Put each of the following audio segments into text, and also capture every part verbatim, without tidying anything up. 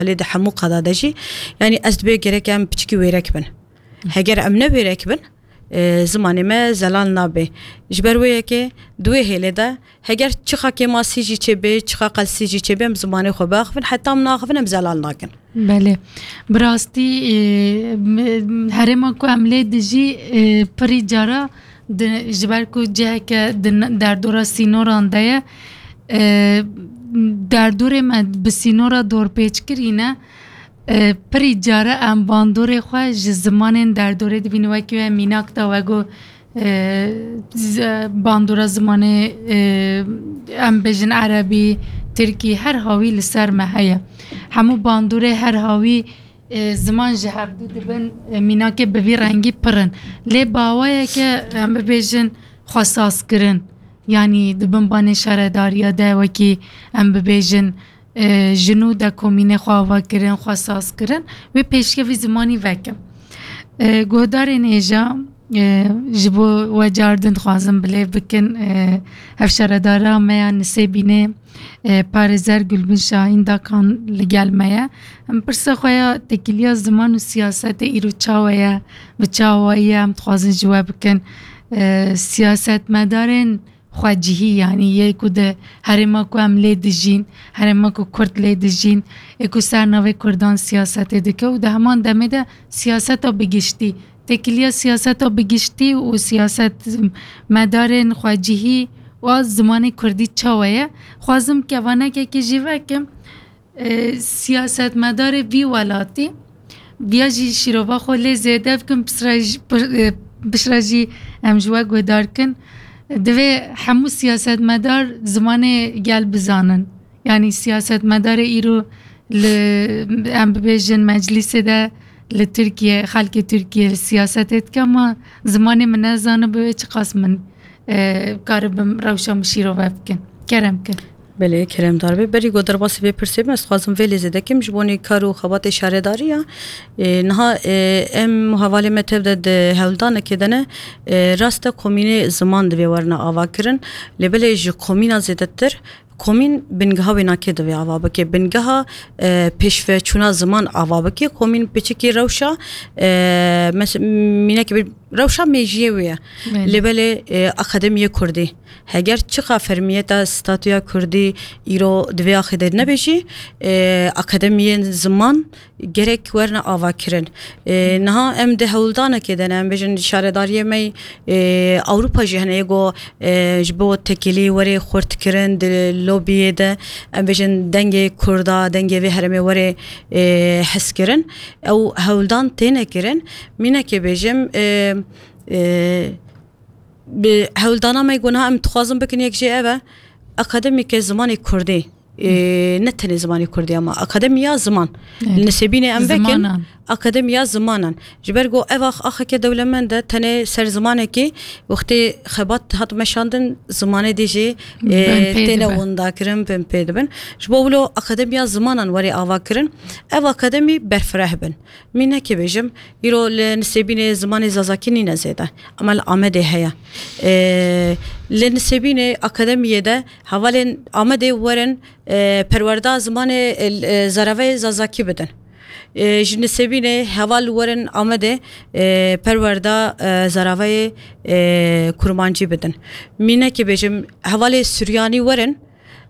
Lê di hemû qada de jî, yanî ez dibê gerek em piçikî wêrek bin. Heger em ne wêrek bin, e, zimanê me zelal nabe. Ji ber wê yekê di wê hêlê de heger çiqa kêmasî jî çêbe, çiqa qelsî jî çêbe, em zimanê xwe biaxivin, heta em naxivin em zelal nakin. Belê. Bi rastî, e, m-, herêma ku em lê dijî, e, pirî cara di, ji ber ku ciheke di n-, derdora sînoran de ye, e, derdorê me bi sînora dorpêçkirî ne, e, pirî care em bandorê xwe ji zimanên derdorê dibînin, wekî we mînak da we got, e, z-, bandora zimanê, e, em bêjin erebî, tirkî, her hawî li ser me heye. Hemû bandorê her hawî, e, ziman ji hevdû dibin, e, mînakê bi vî rengî pir in. Lê bi awayeke em bibêjin xwe sazkirin, yanî di bin banê şaredariya de wekî em bibêjin, e, ji nû de komînê xwe ava kirin, xwe saz kirin, wê pêşkevî zimanî vekin. E, guhdarên hêja, e, ji bo we car din dixwazim bilêv bikin, e, hevşaredara me ya Nisêbînê, e, parêzer Gulbin Şahîn Dakan li gel me ye. Em pirsa xwe ya têkiliya ziman û siyasetê îro çawa ye, bi çawayî ye, em dixwazin ji we bikin. E, siyasetmedarên xwecihî, yanî yê ku di herêma ku em lê dijîn, herêma ku Kurd lê dijîn, ê ku ser navê Kurdan siyasetê dike û di heman demê de siyaseta bi giştî, têkiliya siyaseta bi giştî û siyasetmedarên xwecihî û a zimanê Kurdî çawa ye? Xwazim kevanekekê jî vekim. E, siyasetmedarê vî welatî viya jî şîrova xwe lê zêde bikin, piştre jî, pir-, e, piştre jî em ji we guhdar kin. Divê hemû siyasetmedar zimanê gel bizanin. Yanî siyasetmedarê îro li, em bibêjin meclîsê de li Tirkiye, xelkê Tirkiye li siyasetê dike, ma zimanê min nezanibe, wê çiqas min, e, karibim rewşa min şîrove bikin. Kerem ke. Belê, keremdar be. Berî ku derbasî vê pirsê me, ez dixwazim vê lê zêde kim ji bo nê kar û xebatê şaredarî ya. E, niha, e, em û hevalê me tev de di hewldanekê de ne, e, rast e komînê ziman divê werine ava kirin. Lê belê ji komîna zêdetir komîn bingeha wênakê divê ava bike. Bingeha, e, pêşveçûna ziman ava bike. Komîn piçikî rewşa, e, mes-, mînekê bir rewşa mêjiyê wê ye. Belê. Lê belê, e, akademiyê Kurdî. Heger çiqa fermiyeta statûya Kurdî îro di vê axê de nebe jî, e, akademiyên ziman gerek werine avakirin. E, niha em di hewldanekê de ne, em bêjin şaredariyê me, e, Ewropa jî hene yê ku, e, ji bo tekilî were xurtkirin di lobiyê de, em bêjin dengê Kurda, dengê vê herêmê were, e, hezkirin. Ew hewldan têne kirin. Mînekê bêjim, e, e, bi hewldana me ku niha em dixwazin bikin yek jê ev e, akademîke zimanê Kurdî. E, ne tenê zimanê Kurdî ama akademiya ziman. Evet. Nisêbînê em vekin, zimanan. Akademiya zimanan. Ji ber ku ev ax-, axeke dewlemend e, tenê ser zimanekî wextê xebat hat meşandin, zimanê dî jî, e, têne winda kirin, bin pê dibin. Ji bo wilo akademiya zimanan were ava kirin, ev akademî berfireh bin. Mînekê bêjim, îro li Nisêbînê zimanê Zazakî nîne zêde. Ama li Amedê heye. E, li Nisêbînê akademiyê de hevalên Amedê werin, e, perwerda zimanê, e, e, zaraveyê Zazakî bidin. E, ji Nisêbînê heval werin Amedê, e, perwerda, e, zaraveyê, e, Kurmancî bidin. Mînekê bêjim, hevalê Suryanî werin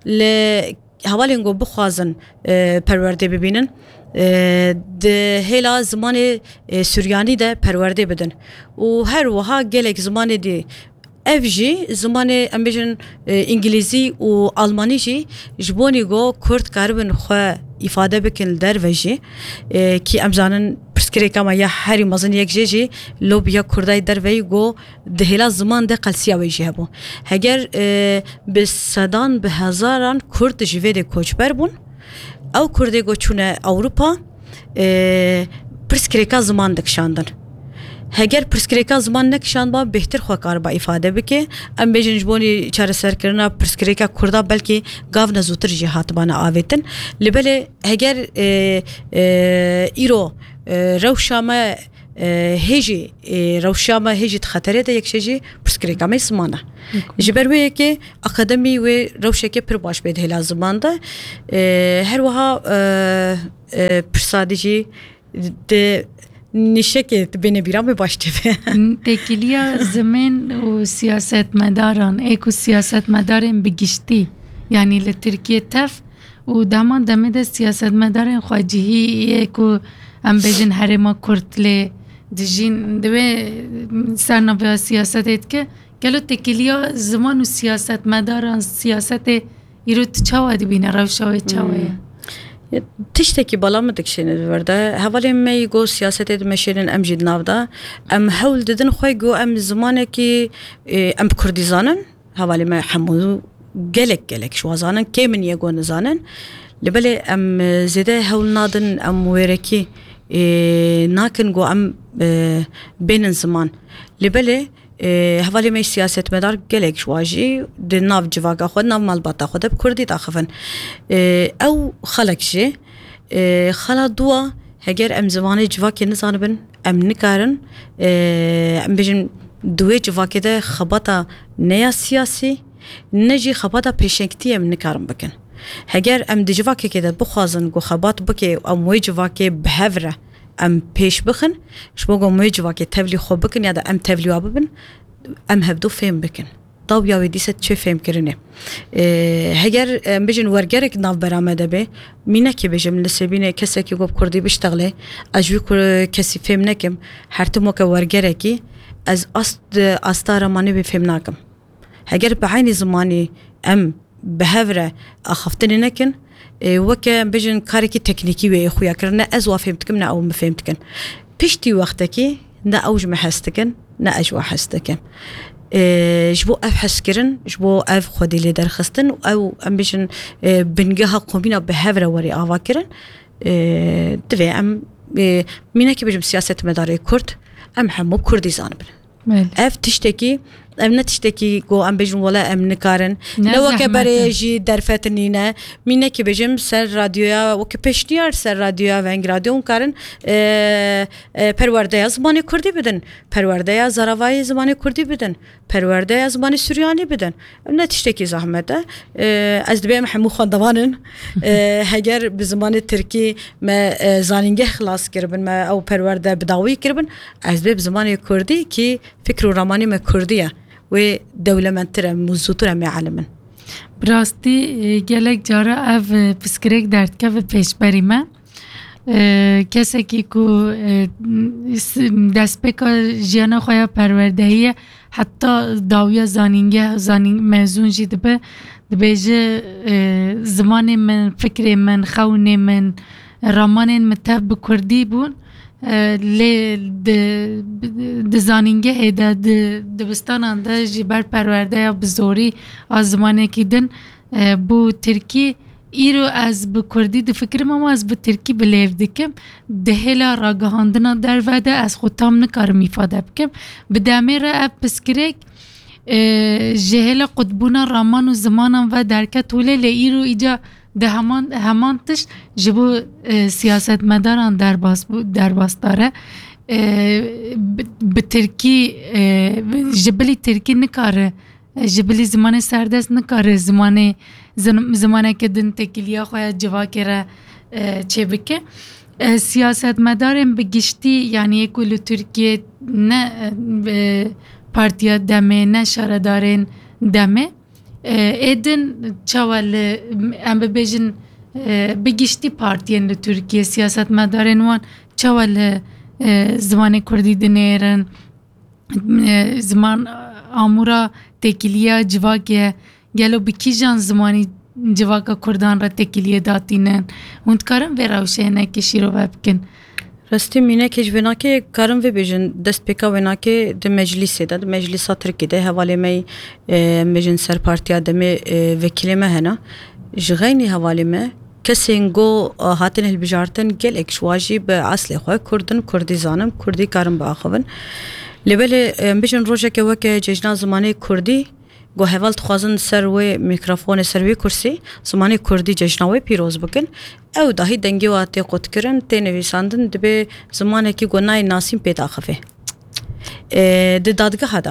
li hevalên ku bixwazin, e, perwerdê bibînin, e, di hêla zimanê, e, Suryanî de perwerdê bidin. Û her wiha gelek zimanê dî. Ev jî zimanê, em bêjin, e, Îngilîzî û Almanî jî ji bonî ku Kurd karibin xwe îfade bikin li derve jî, e, kî em zanin pirsgirêka me ya herî mezin yek jê jî lobiya Kurda yê derveyî ku di hêla ziman de qelsiya wê jî hebû. Heger, e, bi sedan, bi hezaran Kurd ji vê dê koçber bûn, ew Kurdê ku çûne Ewropa, e, pirsgirêka ziman dikişandin. Heger pirsgirêka ziman nekişandba, bêhtir xwe kariba îfade bike. Em bêjin ji bonî çareserkirina pirsgirêka Kurda belkî gavne zûtir jî hatibane avêtin. Lê belê heger, e, e, îro, e, rewşa me, e, hê jî, e, rewşa me hê jî di xeterê de, yek şey jî pirsgirêka me ziman e. Ji ber wê yekê akademî wê rewşeke pir baş bê di hêla ziman de. E, her wiha, e, e, pirsa dî jî di nîşekê dibêne bîra me baş dibe. Têkiliya zimên û siyasetmedaran, ê ku siyasetmedarên bi giştî, yanî li Tirkiye tev û di heman demê de siyasetmedarên xwecihî yê ku em bêjin herêma Kurd lê dijîn, di wê sernavê siyasetê dike. Gelo têkiliya ziman û siyasetmedaran, siyasetê îro tu çawa dibîne, rewşa wê çawa ye? Hmm. Ya, tiştekî bala min dikişêne di vir de. Hevalên me yî got siyasetê dimeşênin, em jî di nav de. Em hewl didin xwe, got em zimanekî, e, em bi kurdî zanin. Hevalê me hemû gelek, gelek ji wan zanin. Kê min ye got nizanin. Lê belê em, e, zêde hewl nadin, em wêrekî, e, nakin got em, e, bênin ziman. Lê belê, e, hevalê me siyasetmedar gelek ji wan jî di nav civaka xwe, di nav malbata xwe de bi kurdî daxivin. E, ew xalek jî, e, xala dû a, heger em zimanê civakê nizanibin, em nikarin, e, em bêjin, di wê civakê de xebata ne ya siyasî, ne jî xebata pêşengtî em nikarin bikin. Heger em di civakekê de bixwazin ku xebat bike û em wê civakê bi hev re em pêş bixin, ji bo ku em wê civakê tevlî xwe bikin ya da em tevlî wa bibin, em hevdu fêm bikin. Dawiya wê dîse çê fêmkirinê. Ee, heger, em bijin wergerek navbera me de be, mînekê bijim li Sêbînê kesekî ku bi kurdî biştexlê, ez ji wî ku-, kesî fêm nekim, her tim weke wergerekî, ez ast, asta ramanê wê fêm nakim. Heger bi eynî zimanî em bi hev re axaftinê nekin, e, weke em bijin karekî teknîkî wê yê xuya kirin, ne ez wa fêm dikim, ne ew min fêm dikin. Piştî wextekî ne ew ji min hez dikin, ne ez ji wan hez dikim. E, ji bo ev hezkirin, ji bo ev xwedî lê derxistin, ew em bijin, e, bingeha komîna bi hev re werê ava kirin, e, divê em, e, mînekî bijim siyasetmedarê Kurd, em hemû Kurdî zanibin. Belê. Ev tiştekî, ev ne tiştekî ku em bêjin wele em nikarin. Ne Ne weke zehmet berê e. Jî derfet nîne. Mînekî bêjim ser radyoya, weke pêşniyar ser radyoya Veng Radyo hûn karin, e, e, perwerdeya zimanê kurdî bidin. Perwerdeya zaravayê zimanê kurdî bidin. Perwerdeya zimanê suryanî bidin. Ev ne tiştekî zehmet e. E, ez dibêm hemû xwendevan in. E, heger bi zimanê tirkî me, e, zanîngeh xilas kiribin, me ew perwerde bi dawî kiribin, ez dibê bi zimanê kurdî kî fikr û ramanê me kurdî ye, wê dewlemendtir e, em û zûtir em ê elim in. Bi rastî, e, gelek cara ev, e, pirsgirêk derdikeve pêşberî me. E, kesekî ku, e, s-, destpêka jiyana xwe ya perwerdehiyê ye, heta dawiya zanîngeh, zanîng-, mezûn jî dibe, dibêje, e, zimanê min, fikrê min, xewnê min, ramanên min tev bi kurdî bûn. E, lê di, di zanîngehê de, di dibistanan de jî ber perwerdeya bi zorî a zimanekî din, e, bû tirkî. Îro ez bi kurdî difikirim, ama ez bi tirkî bi lêv dikim. Di hêla ragihandina derve de ez xwe tam nikarim îfade bikim. Bi demê re ev pirsgirêk, e, ji hêla qutbûna raman û zimanan ve derket holê, lê îro îca di heman, heman tişt ji bo, e, siyasetmedaran derbas bû, derbasdar e. E, bi, bi tirkî, e, ji bilî tirkî nikare, e, ji bilî zimanê serdest nikare zimanê, zin-, zimaneke din têkiliya xwe ya civakê re, e, çêbike. E, siyasetmedarên bi giştî, yanî yê ku li Tirkiyê ne, e, partiya demê, ne şaredarên demê, e, ê din çawa li, em bibêjin, e, bi giştî partiyên li Tirkiyê, siyasetmedarên wan çawa li, e, zimanê kurdî dinêrin, e, ziman, amûra têkiliya civakê, gelo bi kîjan zimanî civaka kurdan re têkiliyê datînin? Hûn dikarin vê rewşê hinekî şîrove bikin? Rastî mînekê ji vê nakê karin vê bêjin, destpêka wê nakê di meclîsê de, di meclîsa Tirkî de hevalê me, e, em bêjin ser partiya demê, e, vekîlê me hene. Ji xeynî hevalê me, kesên go, e, hatin hilbijartin, gelek ji wan jî bi eslê xwe Kurd in, Kurdî zanin, Kurdî karin biaxivin. Lê belê, em bêjin rojeke weke Cejna Zimanê Kurdî, Ku heval dixwazin ser wê mîkrofonê, ser wê kursî, zimanê kurdî cejna wê pîroz bikin. Ew dahî dengê wa tê qutkirin, tê nivîsandin, dibê zimanekî ku nayê nasîn pê daxive. E, di dadgeha de.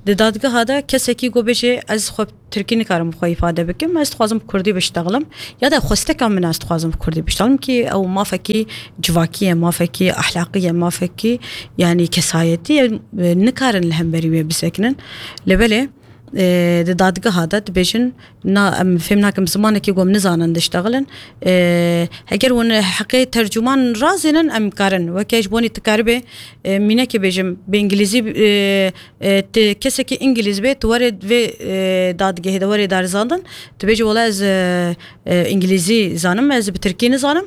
Di dadgeha de kesekî ku bêje, ez xwe tirkî nikarim xwe îfade bikim, ez dixwazim kurdî biştexlim. Ya da xwesteka min ez dixwazim kurdî biştexlim ki ew mafekî civakî ye, mafekî ahlaqî ye, mafekî, yanî kesayetî ye, e, nikarin li hemberî wê bisekinin. Lê belê, e, di dadgeha de dibêjin, na, em fêm nakim zimanekî ku em nizanin diştexilin. E, heger hûn heqê tercûman razênin, em karin. Weke ji bonî tu karibê, e, mînekê bêjim, bi îngilîzî, e, e, tu kesekî îngilîz bê, tu were vê, e, dadgehê de were darizandin, tu bêjî, wela ez, e, e, îngilîzî zanim, ez bi tirkî nizanim.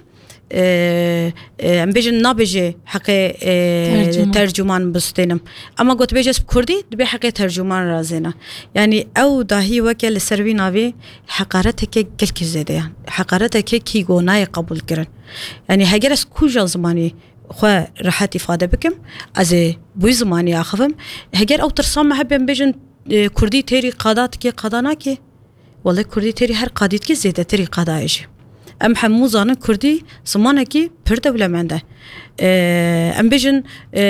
E, e, em bêjin nabêje heqê, e, Tercûman. Tercûman bistênim. Ama got bêje ez bi kurdî, dibê heqê tercûman razêne. Yanî ew dahî weke li ser wî navî heqareteke gelkî zêde ye. Heqareteke kî go nayê qebûl kirin. Yanî heger ez kuja zimanî xwe rehet îfade bikim, ez ê bi wî zimanî axivim. Heger ew tirsa me hebe em bêjin, e, kurdî têrî qada dike, qada nake. Wele kurdî têrî her qadî dike zêdetirî qada ye jî. Em hemû zanin kurdî zimanekî pir dewlemend e. E, em bêjin, e,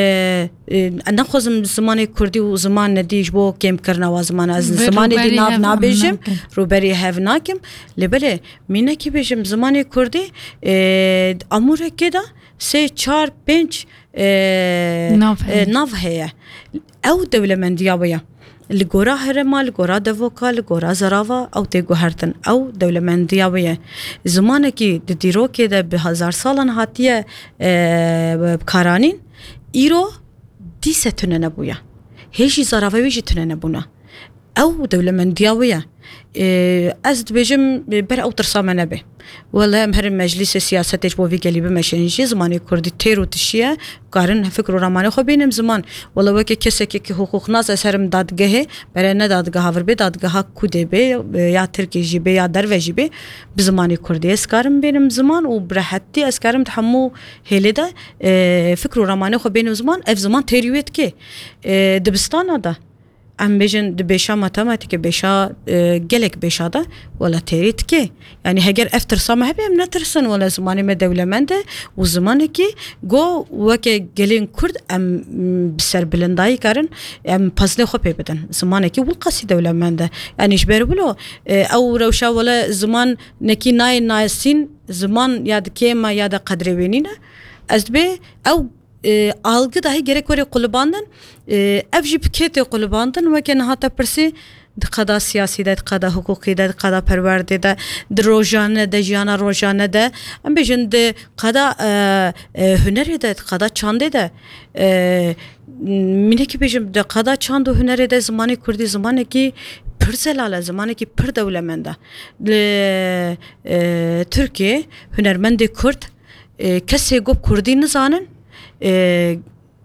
e, ez naxwazim zimanê kurdî û ziman nedî ji bo kêmkirina wa ziman e. Ez Vê zimanê dî rûberî nav hev nabêjim, nakim. Rûberî hev nakim. Lê belê, mînekî bêjim zimanê kurdî, e, amûrekê de sê, çar, pênc, e, Nav e, heye. Nav heye. Ew dewlemendiya wê ye. Li gora herêma, li gora devoka, li gora zerava ew tê guhertin. Ew dewlemendiya wê ye. Zimanekî di dîrokê de bi hezar salan hatiye, e, karanîn, îro dîse tune nebûye. Hê jî zarava wê jî tune nebûne. Ew dewlemendiya wê ye. Ê, ez dibêjim, ê, ber ew tirsa me nebe. Wele em herin meclîsê siyasetê ji bo vî gelî bimeşin jî, zimanê kurdî têr û tişî ye, karin fikr û ramanê xwe bênim ziman. Wele weke kesekê ki hiqûqnas ez herim dadgehê, bere ne dadgeha vir bê, dadgeha kudê bê, ê, ya tirkê jî bê, ya derve jî bê, bi zimanê kurdî ez karim bênim ziman û bi rehetî ez karim di hemû hêlê de, ê, fikr û ramanê xwe bênim ziman, ev ziman têrî wê dike. Ê, dibistana de. Em bêjin di bêşa matematîkê, bêşa, e, gelek bêşa de, wela têrî dike. Yanî heger ev tirsa me hebe, em netirsin, wela zimanê me dewlemend e û zimanekî go weke gelên kurd em, m, bi serbilindayî karin, em pezinê xwe pê bidin. Zimanekî wilqasî dewlemend e. Yanî ji ber wilo, e, ew rewşa wela ziman nekî nayê nasîn, ziman ya di kêm e ya de qedrê wê nîne. Ez dibê ew e, algı dahi gerek were qulibandin. E, ev jî bi kê tê qulibandin? Weke niha te pirsî, di qada siyasî de, di qada hiqûqî de, di qada perwerdê de, di rojane de, jiyana rojane de, em bêjin di qada, e, e, hunerê de, di qada çandê de, e, mînekî bêjim, di qada çand û hunerê de zimanê kurdî zimanekî pir zelal e, zimanekî pir dewlemend e. Li, e, Tirkiyê hunermendê kurd, e, kesê ku kurdî nizanin, e,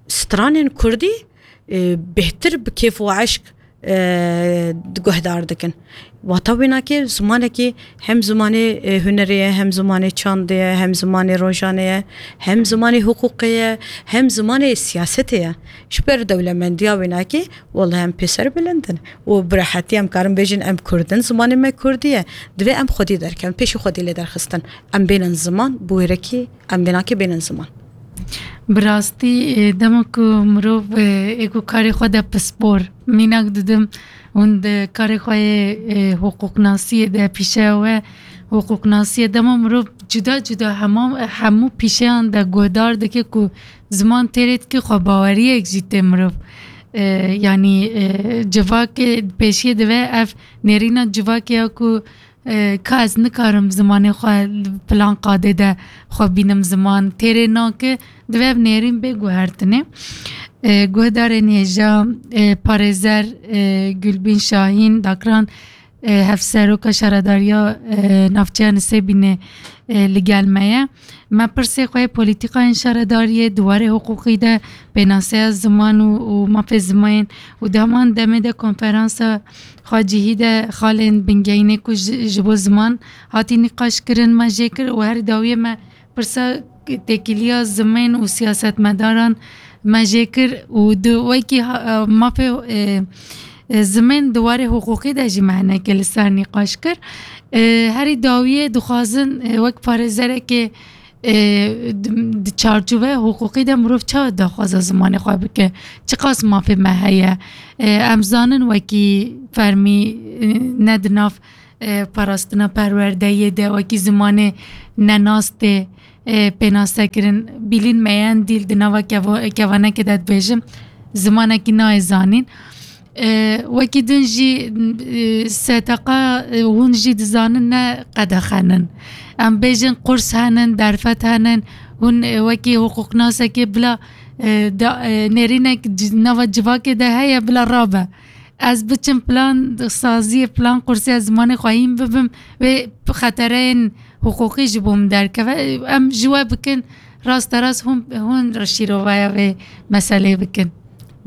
stranên kurdî, e, bêhtir bi kêf û eşq, e, guhdar dikin. Wata wê nake zimanekî hem zimanê, e, hunerê ye, hem zimanê çandê ye, hem zimanê rojanê ye, hem zimanê hiqûqê ye, hem zimanê siyasetê ye. Ji ber dewlemendiya wê nake, wele em pê serbilind in. Û bi rehetî em karin bêjin em kurd in, zimanê me kurdî ye. Divê em xwedî derkevin, pêşî xwedî lê derxistin. Em bênin ziman, bi wêrekî em vê nake bênin ziman. Bi rastî, e, dema ku mirov, e, ê ku karê xwe de pispor, mînak didim, hûn di karê xwe yê, e, hiqûqnasiyê de, pîşeya we hiqûqnasiyê, dema mirov cuda cuda hema, hemû pîşeyan de guhdar dike ku ziman têrê dike, xwebaweriyek jî tê mirov. E, yanî, e, civakê pêşiyê dive ev nêrîna civakê ya ku, e, ka ez nikarim zimanê xwe li filan qadê de xwe bînim ziman têrê nake, divê ev nêrîn bê guhertinê. E, guhdarên hêja, e, parêzer, e, Gulbîn Şahîn, Dakran, e, hevseroka şaredariya, e, navçeya Nisêbînê, e, li gel me ye. Me pirsê xwe yê polîtîkayên şaredariyê di warê hiqûqî de, pênaseya ziman û, û mafê zimayên û di heman demê de konferansa xwecihî de xalên bingehînê ku ji, ji bo ziman hatî nîqaş kirin me jê kir û her dawiyê me pirsa têkiliya zimên û siyasetmedaran me jê kir û di wekî ha-, mafê, e, E, zimên di warê hiqûqî de jî me hinekê li ser nîqaş kir. E, herî dawiyê dixwazin, e, wek parêzerekê, e, di, di çarçoveya hiqûqî de mirov çawa daxwaza zimanê xwe bike? Çiqas mafê me heye? E, em zanin wekî fermî, e, ne di nav, e, parastina perwerdeyê de wekî zimanê nenas tê, e, pênasekirin. Bilîn meyendîl di nava kevo-, kevanekê de dibêjim, zimanekî nayê zanîn. E, wekî din jî, e, seteqa, e, hûn jî dizanin ne qedexe nin. Em bêjin qurs henin, derfet henin, hûn, e, wekî hiqûqnasekê bila, e, da, e, nêrînek ci-, nava civakê de heye, bila rabe. Ez biçim plan saziyê, plan qursê, ez zimanê xwe hîn bibim, wê xetereyên hiqûqî ji bo min derkeve. Em ji we bikin, rasterast hûn, hûn şîrovaya vê meseleyê bikin.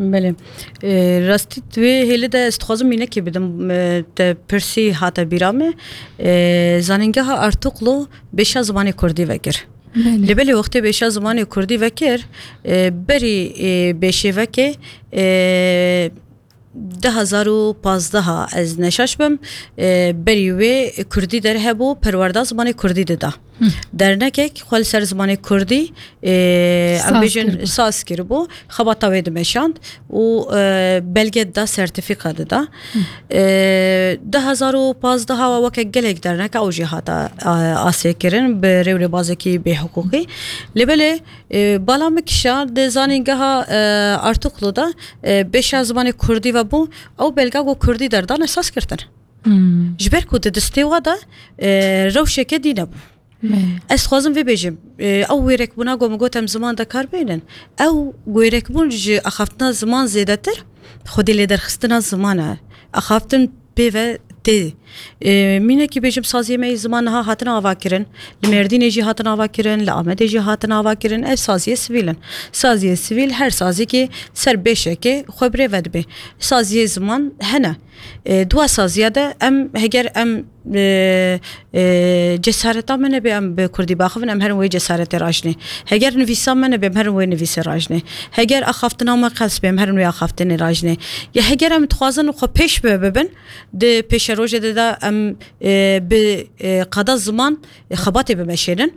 Belê. E, rastî di wê hêlê de ez dixwazim mînekê bidim. E, te pirsî hate bîra me. E, Zanîngeha Artuklu bêşa zimanê kurdî vekir. Belê. Lê belê wextê bêşa zimanê kurdî vekir, e, berî, e, bêşê vekê, e, du hezar û pazdeh ez neşaş bim, e, berî wê kurdî derhebû, perwerda zimanê kurdî dida. Hı. Dernekek xwe li ser zimanê kurdî, e, em Saz bêjin kiribû. Saz kiribû, xebata wê dimeşand û, e, belge dida, sertîfîka dida. Hı. E, du hezar û pazdeh wa weke gelek derneka ew jî hata, e, asê kirin bi rêwrêbazekî bêhiqûqî. Lê belê, e, bala min kişa di zanîngeha, e, Artuklu de, e, bêşa zimanê kurdî ve bû, ew belga ku kurdî derdane saz kirtin. Hmm. Ji ber ku di distê wa de, e, rewşeke dî nebû. Belê. Ez dixwazim vê bêjim, e, ew wêrekbûna ku min got em ziman de kar bênin, ew wêrekbûn ji axaftina ziman zêdetir xwedî lêderxistina ziman e. Axaftin pê ve tê. E, mînekî bêjim, saziyê me yê ziman niha hatin ava kirin. Li Mêrdînê jî hatin ava kirin, li Amedê jî hatin ava kirin. Ev saziyê sivîl in. Saziyê sivîl her saziyekê ser bêşekê xwe bi rê ve dibe. Saziyê ziman hene. E, di wa saziya de em, heger em, e, e, cesareta me nebe em bi kurdî baxivin, em herin wê cesaretê rajinê. Heger nivîsa me nebe, em herin wê nivîsê rajinê. Heger axaftina me qels be, em herin wê axaftinê rajinê. Ya heger em dixwazin xwe pêş ve bibin, di pêşerojê de, de em, e, bi, e, qada ziman, e, xebatê bimeşênin,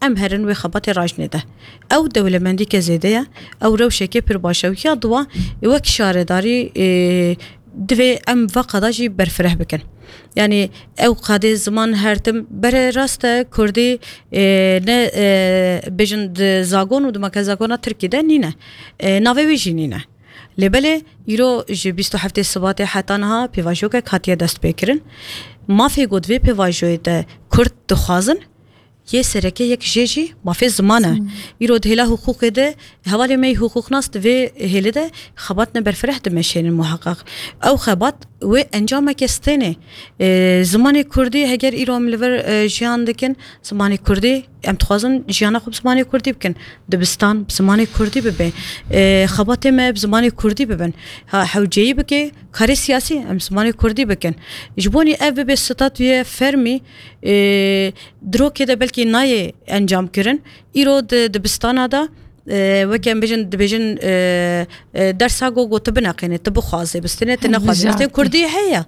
em herin wê xebatê rajinê de. Ew dewlemendîke zêde ye, ew rewşeke pir baş e. Û ya diwa, e, wek şaredarî, e, divê em va qada jî berfireh bikin. Yanî ew qadê ziman her tim bere rast e, kurdî, e, ne, e, bêjin di zagon û di makezagona tirkî de nîne. E, navê wê jî nîne. Lê belê îro ji bîst û heftê Sibatê heta niha pêvajoyek hatiye destpêkirin. Mafê ku di vê pêvajoyê de kurd dixwazin, yê sereke yek jê jî mafê ziman e. Ziman. Îro di hêla hiqûqê de hevalê me yê hiqûqnas di vê hêlê de xebatine berfireh dimeşênin muheqeq. Ew xebat wê encameke stênê. E, zimanê kurdî heger îro em li vir, e, jiyan dikin, zimanê kurdî, em dixwazin jiyana xwe bi zimanê kurdî bikin. Dibistan bi zimanê kurdî bibe. E, xebatê me bi zimanê kurdî bibin. Ha, hewceyî bike, karê siyasî em zimanê kurdî bikin. Ji bo nî ev bibe statûyê fermî, e, di rokê de belkî nayê encam kirin. Îro di dibistana de, e, weke em bêjin, dibêjin, e, e, dersa ku, ku tu bineqînê, tu bixwazê, bistênê, tu nexwazê. Hemijarte. Bistê kurdî heye.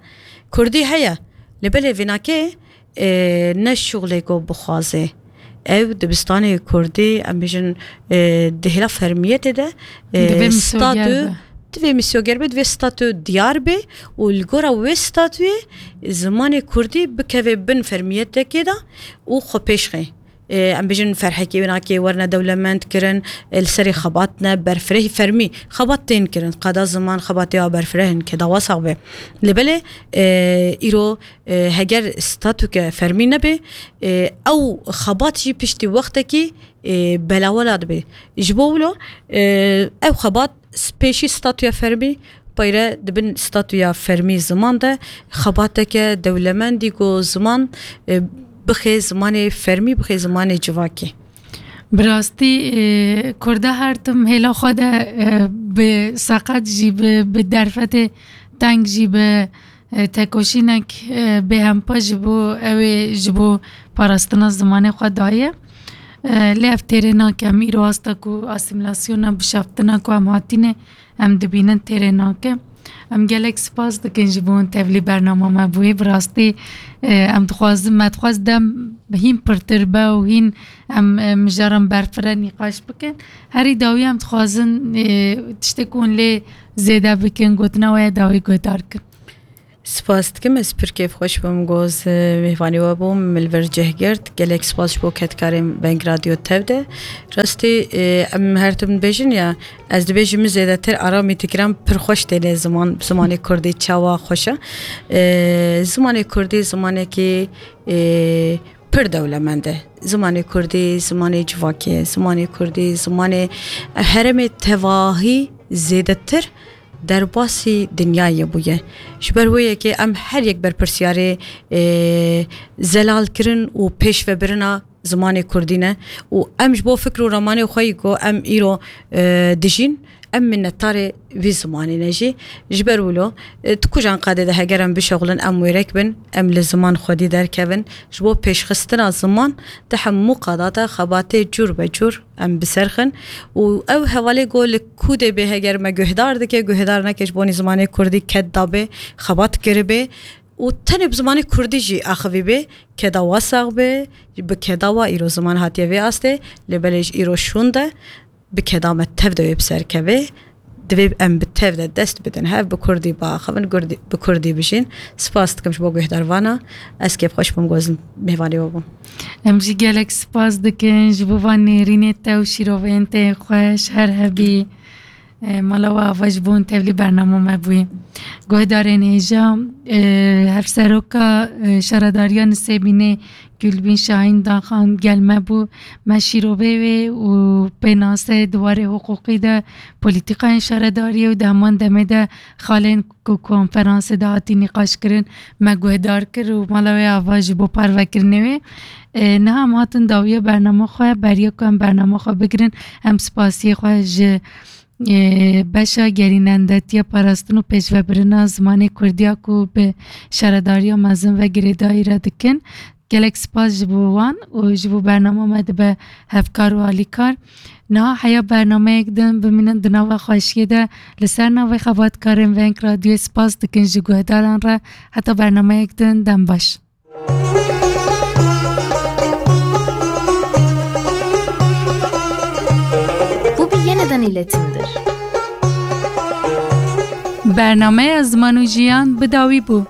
Kurdî heye. Lê belê vênakê, e, ne şuxlê ku bixwazê. Ew dibistanê kurdî, em bêjin, e, di hêla fermiyetê de, e, Divê misyoger statû, be. Divê misyoger be, divê statû diyar be û li gora wê statûyê zimanê kurdî bikeve bin fermiyetekê de û xwe pêş xe. E, em bêjin ferhekê wênakê werine dewlemend kirin, e, li serê xebat ne berfirehî fermî. Xebat tên kirin, qada ziman xebatê a berfireh in ke dawa sax be. Lê belê, e, îro, e, heger statûke fermî nebe, e, ew xebat jî piştî wextekî, e, belawela dibe. Ji bo wilo, e, ew xebat s-, pêşî statûya fermî peyre dibin statûya fermî ziman de xebateke dewlemendî ku ziman, e, bixe zimanê fermî, bixe zimanê civakê. Bi rastî, e, Kurda her tim hêla xwe de, e, bi seqet jî, bi, bi derfetê teng jî, bi, e, tekoşînek, e, bêhempa ji bo ew ê ji bo parastina zimanê xwe daye. E, lê ev têrê nake. Em îro asta ku asîmîlasyona, bişaftina ku em hatîne, em dibînin têrê nake. Em gelek spas dikin ji bo hûn tevlî bernama me bûyî. Bi rastî, e, em dixwazin, me dixwaz dem hîn pirtir be û hîn em, e, mijaran berfireh nîqaş bikin. Herî dawî em dixwazin, e, tiştê ku hûn lê zêde bikin, gotina we ya dawî guhdar kin. Spas dikim, ez pir kêfxweş bûm ku ez, e, mêvanî we bûm, min li vir cih girt. Gelek spas ji bo kedkarên Veng Radyo Tev de. Rastî, e, em her tim dibêjin ya, ez dibêjim min zêdetir aramî dikirim, pir xweş têne ziman, zimanê kurdî çawa xweş e. E, zimanê kurdî zimanekî, e, pir dewlemend e. Zimanê kurdî zimanê civakê ye. Zimanê kurdî zimanê herêmê tevahî zêdetir derbasî dinyayê bûye. Ji ber wê yekê em her yek berpirsiyarê, e, zelalkirin û pêşvebirina zimanê kurdî ne û em ji bo fikr û ramanê xwe yî ku em îro, e, dijîn, em minnetdarê vî zimanê ne jî. Ji ber wilo, e, di kujan qadê de heger em bişexulin, em wêrek bin, em li ziman xwedî derkevin, ji bo pêşxistina ziman di hemû qada de xebatê cûr be cûr em bi ser xin û ew hevalê ku li kûdê bê heger me guhdar dike, guhdar neke ji bonî zimanê kurdî ked dabê, xebat kiribê û tenê bi zimanê kurdî jî axivî bê, keda wa sax bê, bi keda wa îro ziman hatiye vê astê, lê belê ji îro şûn de bi keda me tev de wê bi ser keve. Divê em bi tev de dest bidin hev, bi kurdî biaxivin, gurdî, bi kurdî bijîn. Spas dikim ji bo guhdarvana. Ez kêfxweş bûm ku ez mêvanê we bûm. Em jî gelek spas dikin ji bo van nêrînê te û şîroveyên te yên xweş. Her hebî. E, mala we ava ji bo hûn tevlî bernama me bûyî. Guhdarên hêja, e, Hevseroka, e, Şaredariya Nisêbînê Gulbîn Şahîn Daxan gel me bû. Me şîrovê wê û pênase di warê hiqûqî de, polîtîkayên şaredariyê û di heman demê de xalên ku konferansê de hatî nîqaşkirin me guhdar kir û mala wê ava ji bo parvekirinê wê. E, niha em hatin dawiya bernama xwe, beriya ku em bernama xwe bigirin, em spasiyê xwe ji, e, beşa gerînendetiya parastin û pêşvebirina zimanê kurdiya ku bi şaredariya mezin ve girêdayî re dikin. Gelek spas ji bo wan û ji bo bernama me dibe hevkar û alîkar. Niha heya bernameyek din bimînin di nava xweşiyê de li ser navê xebatkarên Veng Radyoyê spas dikin ji guhdaran re. Heta bernameyek din dem baş. Bu bir yeniden iletimdir. Bernameya Ziman û Jiyan bi dawî bû.